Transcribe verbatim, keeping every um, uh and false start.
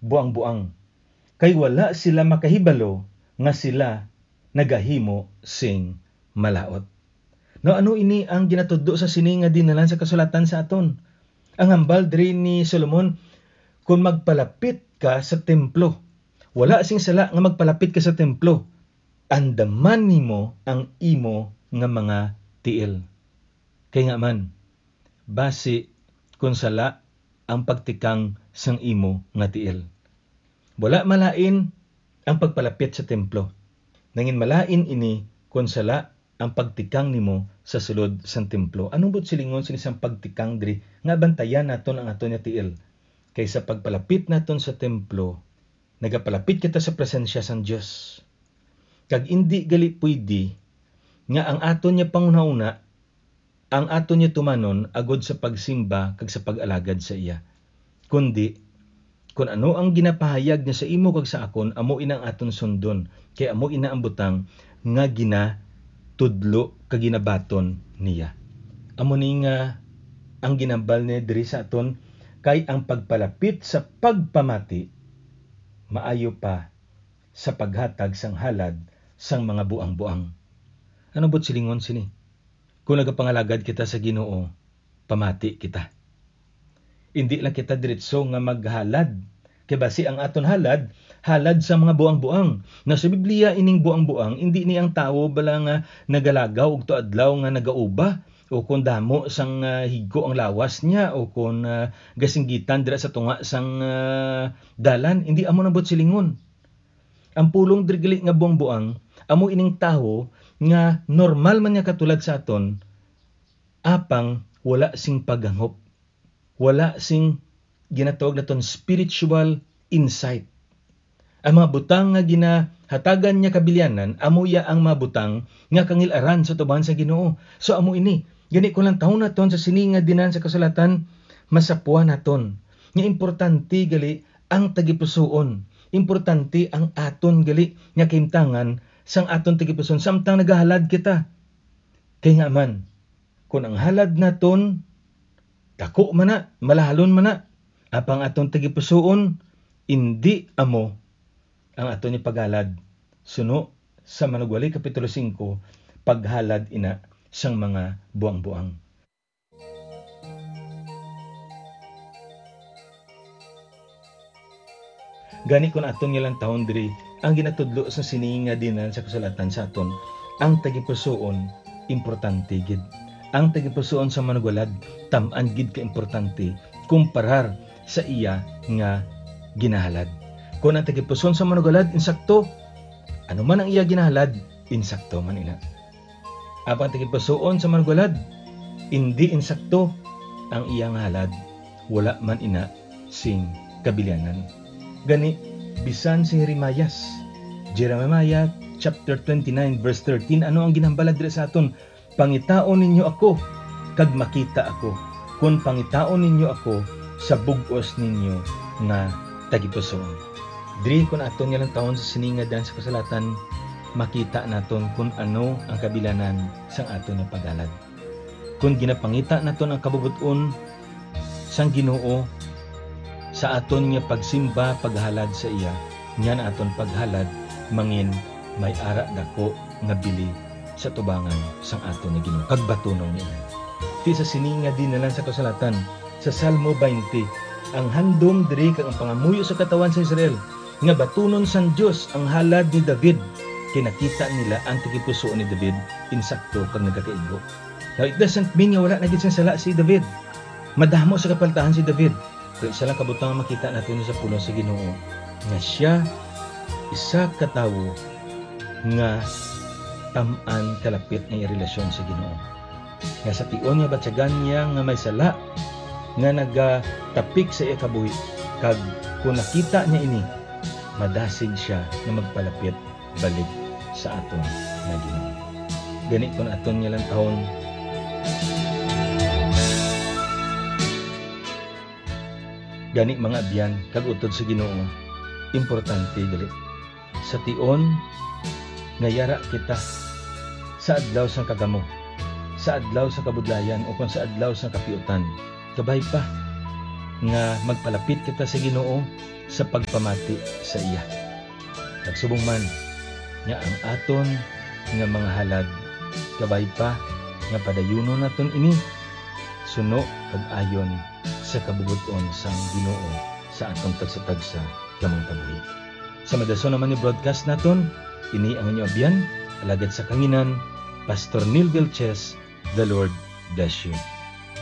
buang-buang, kay wala sila makahibalo nga sila nagahimo sing malaut. Now, ano ini ang ginatudlo sa sini nga dinalan sa kasulatan sa aton? Ang hambal diri ni Solomon, "Kon magpalapit ka sa templo," wala sing sala nga magpalapit ka sa templo, "andaman nimo ang imo nga mga tiil." Kay nga man, basi kon sala ang pagtikang sang imo nga tiil. Wala malain ang pagpalapit sa templo. Nangin malain ini kon sala ang pagtikang nimo sa sulod sang templo. Ano buot silingon sini sang pagtikang diri nga bantayan naton ang aton nga tiil? Kay sa pagpalapit naton sa templo, nagapalapit kita sa presensya sang Dios. Kag indi gali pwede nga ang aton nga panghunahuna ang aton nga tumanon agod sa pagsimba kag sa pag-alagad sa iya. Kundi, kon ano ang ginapahayag niya sa imo kag sa akon, amo ina ang aton sundon, kay amo ina ang butang nga ginatudlo kag ginabaton niya. Amo ni nga ang ginambal niya diri sa aton, kay ang pagpalapit sa pagpamati maayo pa sa paghatag sang halad sang mga buang-buang. Ano buot silingon sini? Kung nagapangalagad kita sa Ginoo, pamati kita. Indi lang kita diretso nga maghalad, kay basi ang aton halad, halad sa mga buang-buang. Na sa Biblia, ining buang-buang, indi ni ang tawo bala nga nagalagaw ugto adlaw nga nagauba, o kon damo sang, ah, higko ang lawas niya, o kon, ah, gasinggitan dira sa tunga sang, ah, dalan. Indi amo nang buot silingon. Ang pulong diri gali nga buang-buang, amo ining tawo nga normal man niya katulad sa aton, apang wala sing paghangop, wala sing ginatawag naton spiritual insight. Ang mga butang nga ginahatagan niya kabilianan, amo iya ang mga butang nga kangil-aran sa atubangan sa Ginoo. So, amo ini. Gani, kung lantawon naton sa sini nga dinan sa kasulatan, masapuan naton nga importante gali ang tagipusoon. Importante ang aton gali nga kahimtangan sang aton tagipusoon samtang nagahalad kita. Kay nga man, kung ang halad naton dako man na, malahalon man na, apang aton tagipusoon indi amo ang aton ipaghalad. Suno sa Manugwali, Kapitulo singko, paghalad ina sang mga buang-buang. Gani, kun aton nga lantawon diri ang ginatudlo sa sini nga dinan sa kasulatan sa aton, ang tagipusoon importante gid. Ang tagipusoon sa manugwalad tam-an gid ka importante kumparar sa iya nga ginahalad. Kun ang tagipusoon sa manugwalad insakto, ano man ang iya ginahalad, insakto man ina. Apang tagipusoon sa manugwalad, indi insakto ang iya nga halad, wala man ina sing kabilianan. Gani, bisan si Jeremias, Jeremiah chapter twenty-nine, verse thirteen, ano ang ginhambal diri sa aton? "Pangitaon ninyo ako, kag makita ako, kon pangitaon ninyo ako sa bug-os ninyo nga tagipusoon." Diri, kun aton nga lantawon sa sini nga dinan sa kasulatan, makita naton kun ano ang kabilianan sang aton nga paghalad. Kun ginapangita naton ang kabubot-on sang Ginoo sa aton nga pagsimba, paghalad sa iya, niyan aton paghalad mangin may ara dako nga bili sa tubangan sang aton nga Ginoo, kag batunon niya. Ti sa sini nga dinan sa kasulatan, sa Salmo twenty, ang handom diri kag ang pangamuyo sa katawhan sa Israel, nga batunon sang Dios ang halad ni David, kay nakita nila ang tagipusoon ni David insakto kag nagakaigo. Now, it doesn't mean nga wala na gid sing sala si David. Madamo sa kapaltahan si David. Pero isa lang ka butang ang makita naton sa pulong sa Ginoo, nga sia isa ka tawo nga tam-an kalapit ang iya relasyon sa Ginoo. Nga sa tion nga batyagan niya nga may sala nga nagatapik sa iya kabuhi, kag kun nakita niya ini, madasig sia nga magpalapit balik sa aton nga Ginoo. Gani, kun aton nga lantawon, gani, mga abyan kag utod sa Ginoo, importante gali sa tion nga yara kita sa adlaw sang kagamo, sa adlaw sang kabudlayan, ukon sa adlaw sang kapiutan. Kabay pa, nga magpalapit kita sa Ginoo sa pagpamati sa iya. Kag subong man nga ang aton nga mga halad, kabay pa nga padayunon naton ini suno kag ayon sa kabubot-on sang Ginoo sa aton tagsa-tagsa nga mga kabuhi. Sa madason naman ni broadcast naton, ini ang inyo abyan, alagad sa kanginan, Pastor Neil Vilches. The Lord bless you.